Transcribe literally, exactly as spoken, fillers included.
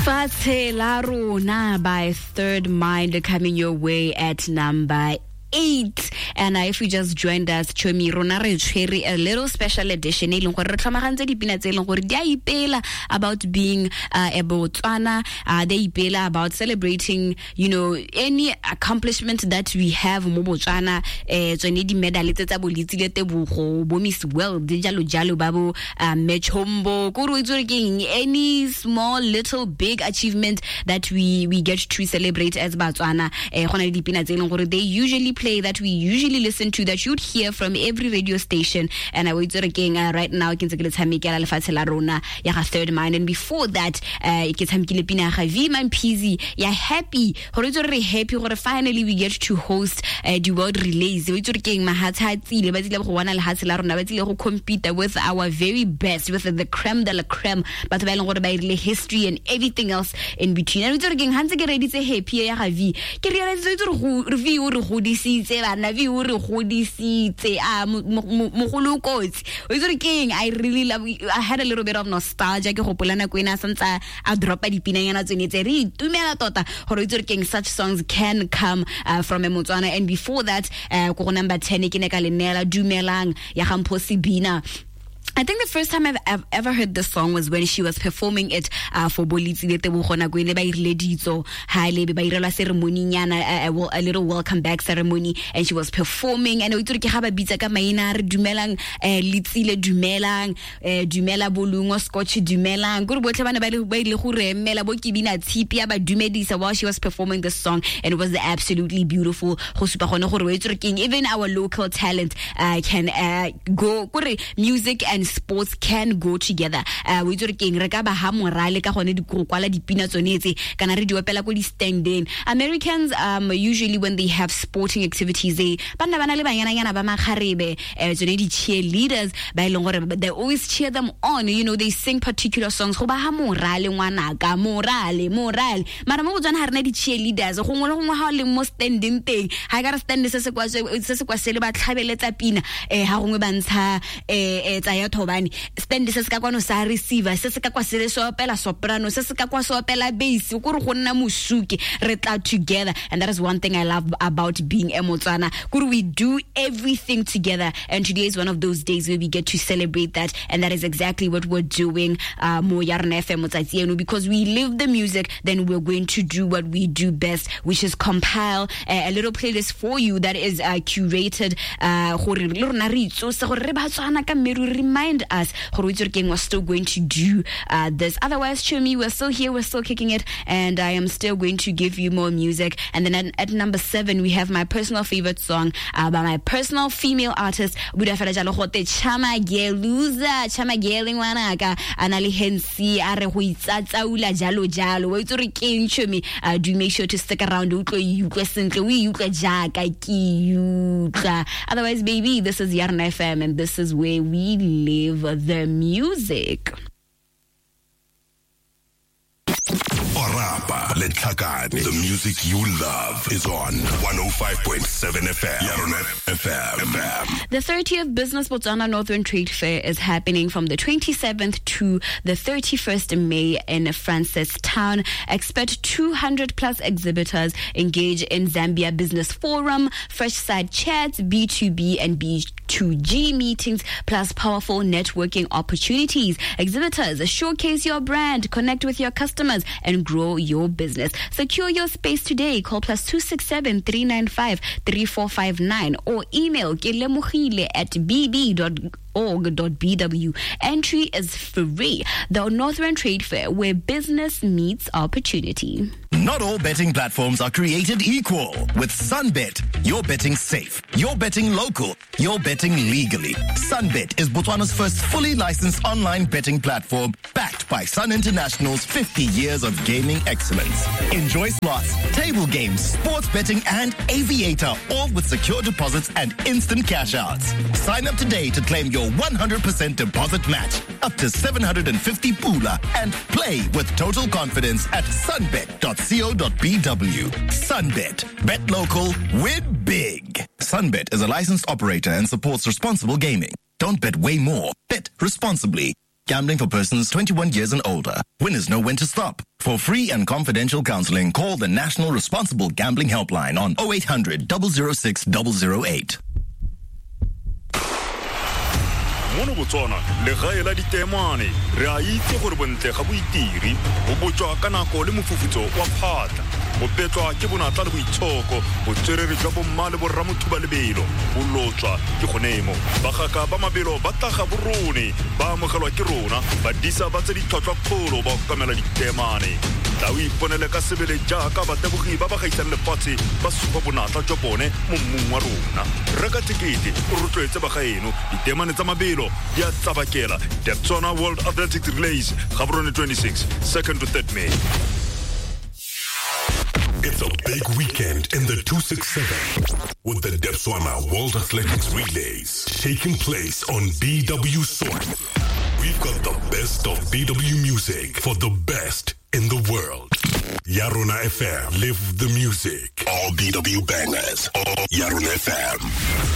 Lefatshe la Rona by Third Mind coming your way at number eight. And uh, if you just joined us, chomi, rona re tshwere a little special edition e leng gore re tlhomagantse dipina tse e leng gore di a ipela about being uh, a Botswana, uh, they ipela about celebrating, you know, any accomplishment that we have mo Botswana, eh tsone di medal tse tsa bo Letsile Tebogo, bo Miss World, jalo jalo ba bo uh, Mechombo, ko re itse gore ke eng, any small little big achievement that we we get to celebrate as Botswana, eh gona le dipina tse e leng gore they usually play, that we usually listen to, that you'd hear from every radio station. And I was again uh, right now ke ntse ke le tshamekela Lefatshe la Rona ya ga Third Mind, and before that uh, ke tshamekile pina ya ga V Mampeezy ya Happy, gore itse re happy gore finally we get to host uh, the World Relays. O itse re keng mahatshe a tsile, ba tsile go bona lehatshe la rona, ba tsile go compete with our very best, with the creme de la creme, batho ba e leng gore ba irile history and everything else in between. And o itse re keng ha ntse ke reditse Happy ya ga V, ke realize itse re go V o re godisitse bana, V o re godisitse a mogolo kotsi. O itse re keng, I really love, I had a little bit of nostalgia ke gopola nako ena santsa a dropa dipinanyana tsone tse re itumela tota gore itse re keng such songs can come uh, from a Motswana. And before that uh, ko go number ten ke ne ka le neela Dumelang ya ga Mpho Sebina. I think the first time I've, I've ever heard this song was when she was performing it uh, for bo Letsile Tebogo nako ene ba irile ditso ha le be ba irelwa ceremony nyana, a, a, a little welcome back ceremony, and she was performing, and o itse ke ga ba bitsa ka maina re dumelang eh, Letsile dumelang, eh, dumela Bolungo Scotch dumelang, gore botlhe bana ba ile ba ile go re emela bo Kibina Tshipi ya ba dumedisa while she was performing this song, and it was absolutely beautiful go supa gone gore o itse re keng even our local talent uh, can uh, go gore music and sports can go together. Uh, we itse re keng re ka ba ha morale ka gone di go kwala dipina tsone tse kana re di opela ko di standing. Americans um usually when they have sporting activities, they bana bana le banyana ba makgarebe, eh tsone di cheerleaders ba e leng gore they always cheer them on, you know, they sing particular songs go ba ha morale ngwanaka, morale morale. Mara mo Botswana ha rena di cheerleaders go ngwe le gongwe ha o leng mo standing teng, ha ka re stand se se kwa se se kwa sele ba tlhabeletsa pina, eh ha gongwe ba ntsha eh tsa ya thobane, stand se se ka kwano sa receiver, se se ka kwa sele so opela soprano, se se ka kwa so opela bass, go re go nna mosuke, re tla together. And that is one thing I love about being a Motswana, gore we do everything together, and today is one of those days where we get to celebrate that, and that is exactly what we're doing uh, mo ya rona F M motsatsi eno, because we live the music, then we're going to do what we do best, which is compile a, a little playlist for you that is uh, curated uh, gore le rona re itsose gore re Batswana ka mme re remind us gore itse re keng we're still going to do uh, this. Otherwise, Chumi, we're still here, we're still kicking it, and I am still going to give you more music. And then at, at number seven, we have my personal favorite song uh, by my personal female artist, Buda fela jalo gote Chama Geluza, Chama Gele ngwanaka, ana le Hensi a re go itsatsaula jalo jalo. Wa itse re keng Chumi, uh, do make sure to stick around, o tlo utlwe sentle, o utlwe jaaka ke utlwa. Otherwise, baby, this is Yarona F M, and this is where we live the music. Orapa Letlhakane, the music you love is on one oh five point seven F M. Yarona F M. The thirtieth Business Botswana Northern Trade Fair is happening from the twenty-seventh to the thirty-first of May in Francistown. Expect two hundred plus exhibitors engage in Zambia Business Forum, Fresh Side Chats, B two B and B two G meetings, plus powerful networking opportunities. Exhibitors, showcase your brand, connect with your customers, and grow your business. Secure your space today. Call plus two six seven, three nine five, three four five nine or email kelemogile at b b dot org dot b w. Entry is free. The Northern Trade Fair, where business meets opportunity. Not all betting platforms are created equal. With Sunbet, you're betting safe, you're betting local, you're betting legally. Sunbet is Botswana's first fully licensed online betting platform, backed by Sun International's fifty years of gaming excellence. Enjoy slots, table games, sports betting, and aviator, all with secure deposits and instant cash outs. Sign up today to claim your one hundred percent deposit match up to seven hundred fifty pula and play with total confidence at sunbet dot co dot b w. Sunbet. Bet local, win big. Sunbet is a licensed operator and supports responsible gaming. Don't bet way more. Bet responsibly. Gambling for persons twenty-one years and older. Winners know when to stop. For free and confidential counseling, call the National Responsible Gambling Helpline on oh eight hundred, double oh six, double oh eight. Mono Botswana legae la ditemane re a itse gore bontle ga bo itiri bo botswa ka nako le mofufutso wa phatla bo petlwa ke bonatla le boitshoko botswerere jwa bomma le borra mothuba lebelo bo lotswa ke gonemo bagaka ba mabelo ba tlaga borone ba amogelwa ke rona badisa ba tse ditlhotlhwa-kgolo ba okamela ditemane tla o iponele ka sebele jaaka batebogi ba ba gaisang lefatshe ba supa bonatla jwa bone mo mmung wa rona reka tekete o rotloetse bagaeno ditemane tsa mabelo di a tsabakela Debswana World Athletics Relays Gaborone twenty-six, second to third May. It's a big weekend in the two six seven with the Debswana World Athletics Relays taking place on B W Soil. We've got the best of B W music for the best in the world. Yarona F M, live the music. All B W bangers. All Yarona F M.